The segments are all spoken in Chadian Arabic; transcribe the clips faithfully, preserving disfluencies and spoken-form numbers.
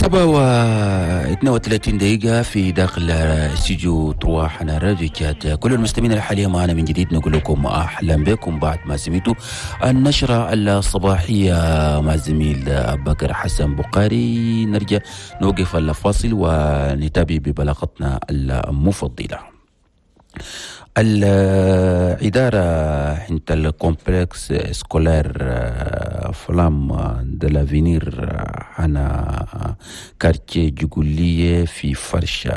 سبعة واثنين وثلاثين دقيقة في داخل استوديو trois حنا راديو تشاد. كل المستمعين الحالية معنا من جديد نقول لكم أهلا بكم بعد ما سمعتوا النشرة الصباحية مع الزميل بكر حسن بقاري. نرجع نوقف الفاصل ونتابع ببلاغتنا المفضلة. الإدارة عند ال complexe scolaire Flamme de l'avenir هنا quartier جقولية في فرشة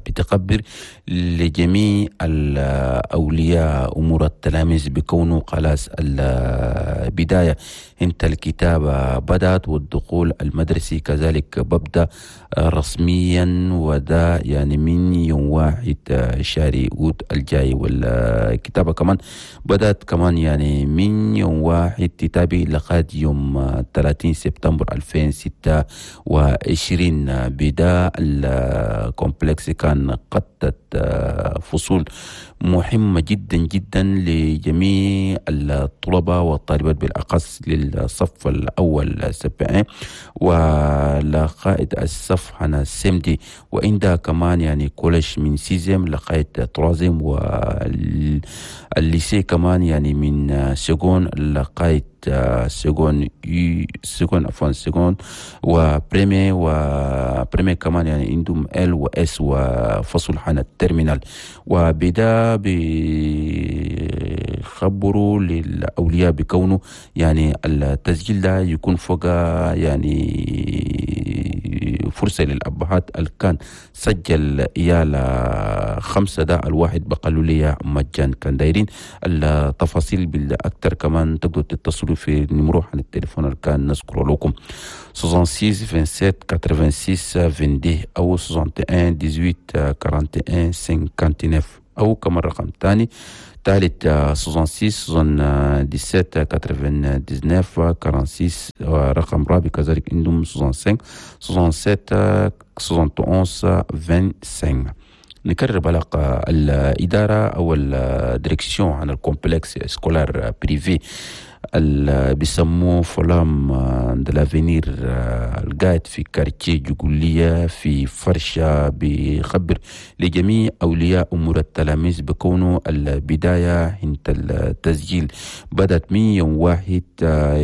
بتخبر لجميع الأولياء أمور التلاميذ بكونه خلاص البداية انت الكتابة بدأت والدخول المدرسي كذلك ببدأ رسميا، وده يعني من يوم واحد شهر أوت الجاي. والكتابة كمان بدأت كمان يعني من يوم واحد تتابع لغاية يوم ثلاثين سبتمبر ألفين وستة وعشرين. بدا ال complexe كان قدت فصول مهمة جدا جدا لجميع الطلبة والطالبات، بالأخص للصف الأول C P un ولغاية الصف هنا C M deux، وعندها كمان يعني collège من sixième لغاية troisième، وال lycée كمان يعني من seconde لغاية seconde U seconde، عفوا، seconde و première، و première كمان يعني عندهم L و S وفصل حنا ال terminale. وبدا بيخبروا للأولياء بكونه يعني التسجيل ده يكون فوق يعني فرصة للأبهات اللي كان سجل عيال خمسة ده الواحد بقالوا لي مجان. كان دايرين التفاصيل بالأكثر كمان تقدروا تتصلوا في numéro عن التليفون اللي كان نذكره لكم: ستة وستين سبعة وعشرين ستة وثمانين اثنين وعشرين أو واحد وستين ثمانية عشر واحد وأربعين خمسة وتسعين، أو كمان رقم ثاني ثالث ستة وستين سبعة وسبعين تسعة وثمانين ستة وأربعين، ورقم رابع كذلك عندهم خمسة وستين سبعة وستين واحد وسبعين خمسة وعشرين. نكرر بلاغ الإدارة أو ال direction عن ال complexe scolaire privé اللي بيسموه Flamme de l'avenir القاعد في quartier جقولية في فرشة، بيخبر لجميع أولياء أمور التلاميذ بكونه البداية عند التسجيل بدأت من يوم واحد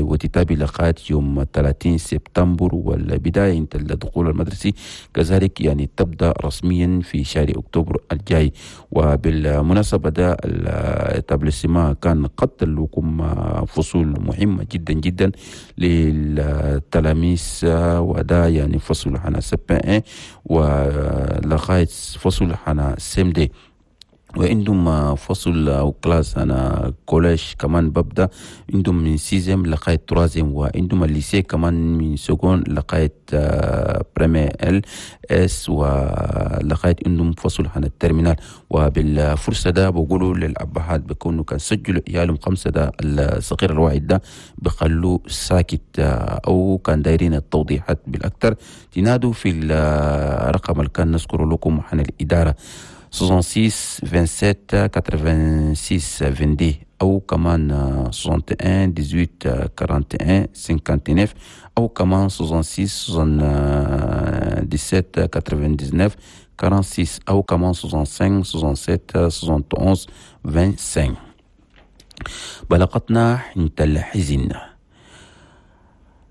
وتتابع لغاية يوم ثلاثين سبتمبر، والبداية عند الدخول المدرسي كذلك يعني تبدأ رسميا في شهر أكتوبر الجاي. وبالمناسبة ده ال établissement كان قد لكم فصول مهمة جدا جدا للتلاميذ، وده يعني فصل حنا C P un ولغاية فصل حنا C M deux، وعندهم فصل أو classe أنا collège كمان ببدأ عندهم من sixième لغاية troisième، وعندهم ال lycée كمان من seconde لغاية première L S ولغاية عندهم فصل عن ال terminale. وبالفرصة ده بقولوا للأبهات بكونوا كان سجلوا عيالهم خمسة ده الصغير الواحد ده بخلوه ساكت، أو كان دايرين التوضيحات بالأكثر تنادوا في الرقم اللي كان نذكره لكم عن الإدارة: ستة وستين سبعة وعشرين ستة وثمانين اثنين وعشرين أو كمان واحد وستين ثمانية عشر واحد وأربعين خمسة وتسعين أو كمان ستة وستين سبعة وسبعين تسعة وثمانين ستة وأربعين أو كمان خمسة وستين سبعة وستين واحد وسبعين خمسة وعشرين. بلاغتنا عند الحزن: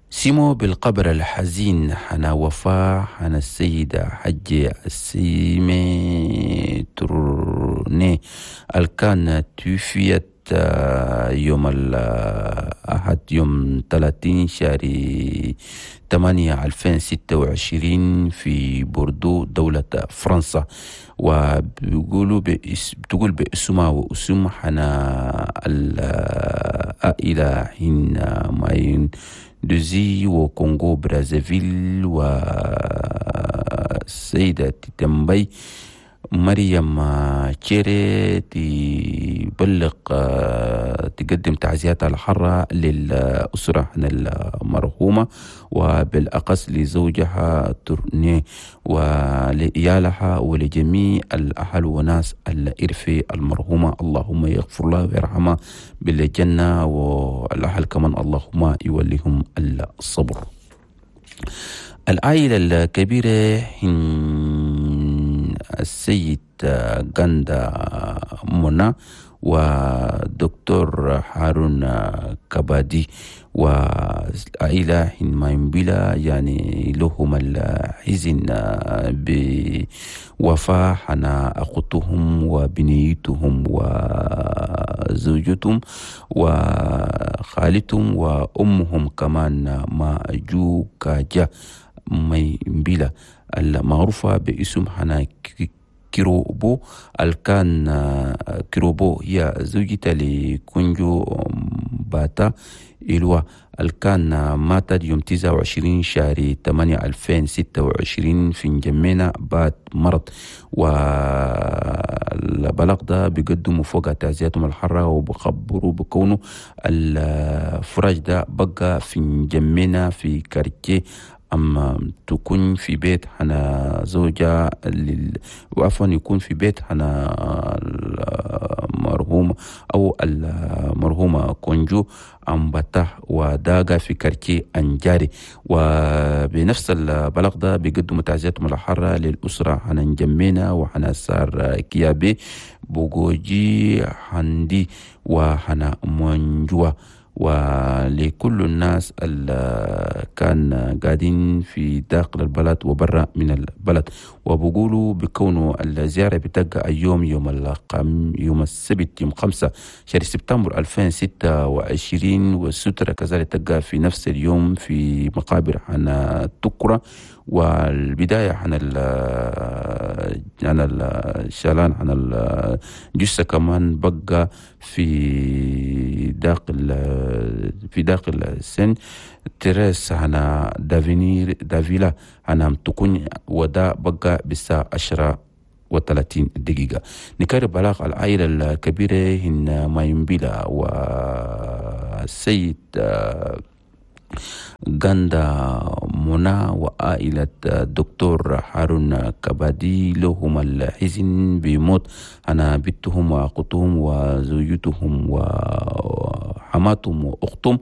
سمو بالقبر الحزين حنا وفاة حنا السيدة حجة السيمي تورني الكان توفيت يوم الأحد يوم ثلاثين شهر ثمانية ألفين وستة وعشرين في بوردو دولة فرنسا. وبيقولوا بإس بتقول باسمها واسم حنا العائلة حين ماين دوزي وكونغو برازافيل والسيدة تتمبي مريم تشيري تبلغ تقدم تعزياتها الحارة للأسرة المرحومة، وبالأخص لزوجها تورني ولإيالها ولجميع الأهل وناس الإرفي المرحومة. اللهم يغفر لها ويرحمها بالجنة، والأهل كمان اللهم يوليهم الصبر. العائلة الكبيرة هن السيد غاندا منى ودكتور هارون كبادي، والعائلة هن مايمبيلا يعني لهم الحزن بوفاة حنا أختهم وبنيتهم وزوجتهم وخالتهم وأمهم كمان ما جو كاجا مايمبيلا المعروفة باسم حنا كيروبو، الكان كيروبو هي زوجته لكونجو باتا إلوا، الكان ماتت يوم تسعة وعشرين شهر ثمانية ألفين وستة وعشرين في نجمينا بعد مرض. والبلاغ ده بيقدموا فوق تعزياتهم الحارة وبخبروا بكونه الفراش ده بقى في نجمينا في quartier أما تكون في بيت حنا زوجة لل... وعفوا، يكون في بيت حنا المرحوم أو المرحومة كونجو أمبتا، وداغا في quartier أنجاري. وبنفس البلاغ ده بيقدموا تعزياتهم الحارة للأسرة حنا نجمينا وحنا سار كيابي بوغوجي حندي وحنا مونجوا ولكل الناس اللي كان قاعدين في داخل البلد وبرا من البلد. وبقولوا بكونه الزيارة بتبقى اليوم يوم القم يوم السبت يوم خمسة شهر سبتمبر ألفين وستة وعشرين، والسترة كذلك تبقى في نفس اليوم في مقابر حنا تكرة، والبداية عن ال عن الشالان عن الجثة كمان بقى في داخل في داخل سان تريس هنا دافينير دافيلا هنا تكون، ودا بقى بالساعة عشرة وثلاثين دقيقة. نكرر بلاغ العائلة الكبيرة هن مايمبيلا والسيد غاندا منى وعائلة الدكتور هارون كبادي لهم الحزن بموت أنا بنتهم وأختهم وزوجتهم وحماتهم وأختهم.